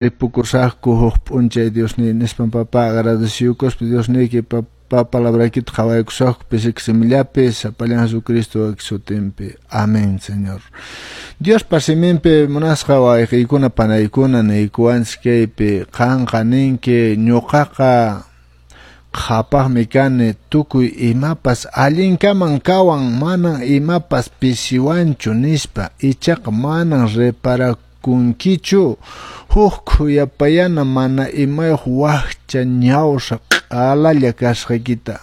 Ripukusaqku huk p'unchay Diosniy nispan papá agradeciyukuspa Diosniyki papá palabraykita qhawaykusaqku pisiki simillapi sapallan Jesucristo sutinpi. Amén, Señor. Diospa siminpi munasqa wayqiykuna panaykuna niykuwanchis kaypi qanqa ninki ñuqaqa qhapaqmi kani tukuy imapas allinkaman kawan manan imapas pisiwanchu nispa ichaqa manan reparakunkichu huk khuyapayana mana imayuq wakcha ñawsa q'alalla kasqaykita.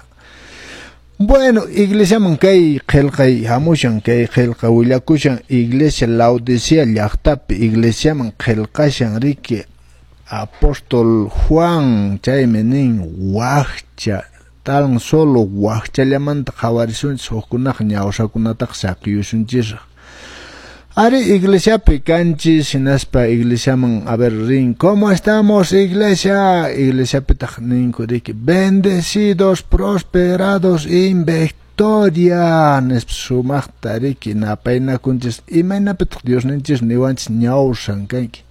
Bueno, iglesiaman kay qillqay hamushan kay qillqa willakushan iglesia Laodicea llaqtapi iglesiaman qillqashan riki apóstol Juan chaymi nin wakcha tan solo wakchallamanta qhawarisunchis hukkunaqa ñawsakunataqa saqiyusunchisraq. Ari iglesiapi kanchis hinaspa iglesiaman a ver rin ¿cómo estamos iglesia? Iglesiapitaq ninku riki bendecidos, prosperados en victoria nispa sumaqta riki napaynakunchis imaynapitaq Diosninchis niwanchis ñawsan kanki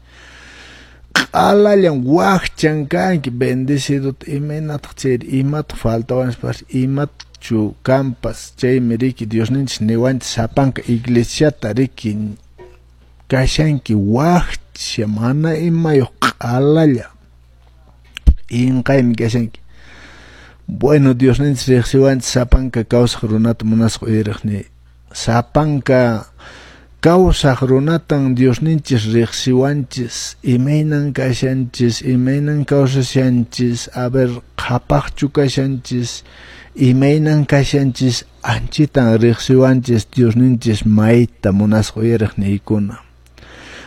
q'alallan wakchan kanki bendecido imaynataq chayri imataq faltawanspas imatchu kanpas chaymi riki Diosninchis niwanchis sapanka iglesiata riki kashanki wakcha mana imayuq q'alalla inqaymi kashanki. Bueno, Diosninchis riqsiwanchis sapanka kawsaq runata munasqa uyariqni sapanka kawsaq runatan Diosninchis riqsiwanchis imaynan kashanchis imaynan kawsashanchis a ver qhapaqchu kashanchis imaynan kashanchis anchitan riqsiwanchis Diosninchis mayta munasqa uyariqniykuna.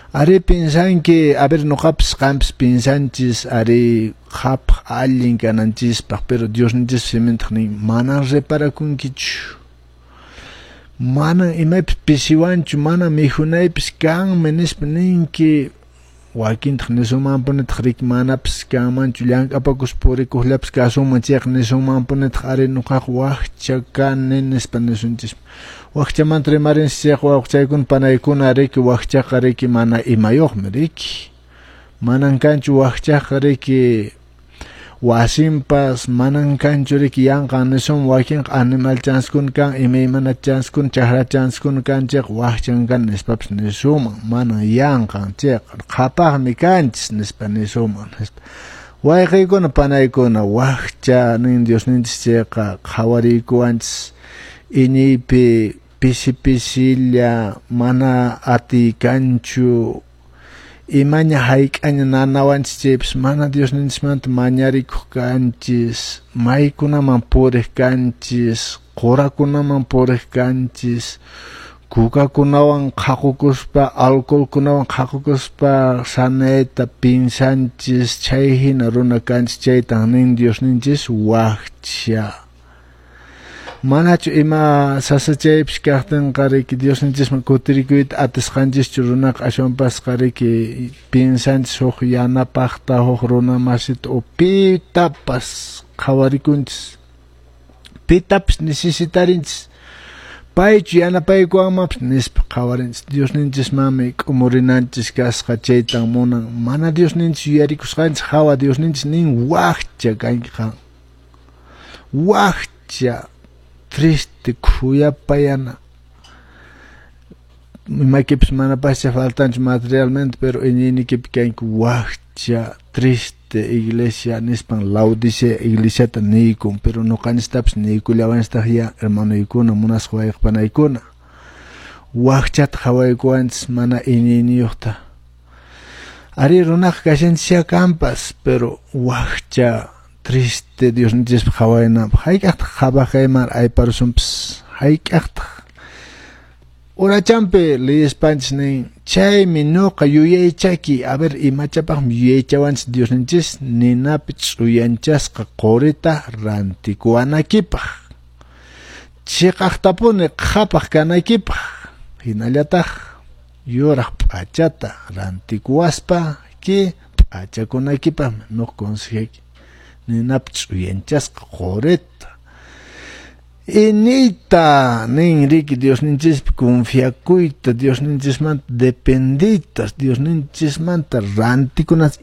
Ari pinsanki, a ver nuqapas qanpas pinsanchis ari qhapaq allin kananchispaq pero Diosninchis simintaq nin manan reparakunkichu manan imaypis pisiwanchu mana mikhunaypis kanmi nispa ninki wakintaq nisunmanpunitaq riki manapis kanmanchu llank'apakuspa purikuqllapis kasunman chayqa nisunmanpunitaq ari nuqaqa wakcha kani nispa nisunchis. Wakchamanta rimarinchis chayqa wawqichaykuna panaykuna riki wakchaqa riki mana imayuqmi riki manan kanchu wakchaqa riki wasinpas manan kanchu riki yanqan nisun wakinqa animal chanskuna kan imaymana chanskuna chakra chanskuna kan chayqa wakchan kan nispapas nisunman manan yanqan chayqa qhapaqmi kanchis nispa nisunman nispa. Wayqiykuna panaykuna wakcha nin Diosninchis chayqa qhawariykuwanchis iñiypi pisi pisilla mana atiy kanchu imaña hayk'aña nanawanchis chaypis mana Diosninchismanta mañarikuq kanchis maykunaman puriq kanchis qurakunaman puriq kanchis kukakunawan qhaqukuspa alcoholkunawan qhaqukuspa sanayta pinsanchis chay hina runa kanchis chaytan nin Diosninchis wakcha. Manachu ima sasachaypis kaqtinqa riki Diosninchisman kutirikuyta atisqanchischu runaqa ashwanpasqa riki pinsanchis huk yanapaqta huk runa masita o pitapas qhawarikunchis pitapas necesitarinchis paychu yanapaykuwanmanpas nispa qhawarinchis Diosninchismanmi k'umurinanchis kasqa chaytan munan mana Diosninchis yuyarikusqanchis hawa Diosninchis nin wakcha kanki qan wakcha triste khuyapayana imaykipis manapascha faltanchu materialmente pero iñiynikipi kanki wakcha triste iglesia nispan Laodicea iglesiata niykun pero nuqanchistapas niykullawanchistaq ya hermanoykuna munasqa wayqipanaykuna wakchata qhawaykuwanchis mana iñiyniyuqta ari runaqa kashanchisya kanpas pero wakcha triste Diosninchispa qhawaynanpaq hayk'aqtaq qhapaq kayman ayparusunpas hayk'aqtaq urachanpi liyispanchis nin chaymi nuqa yuyaychaki a ver imachapaqmi yuyaychawanchis Diosninchis ninapi ch'uyanchasqa qurita rantikuwanakipaq chiqaqtapuni qhapaq kanaykipaq hinallataq yuraq p'achata rantikuwaspa ki p'achakunaykipaqmi nuqa consejayki ninapi ch'uyanchasqa qurita. Inita nin riki Diosninchispi confiakuyta, Diosninchismanta dependiyta, Diosninchismanta rantikunas.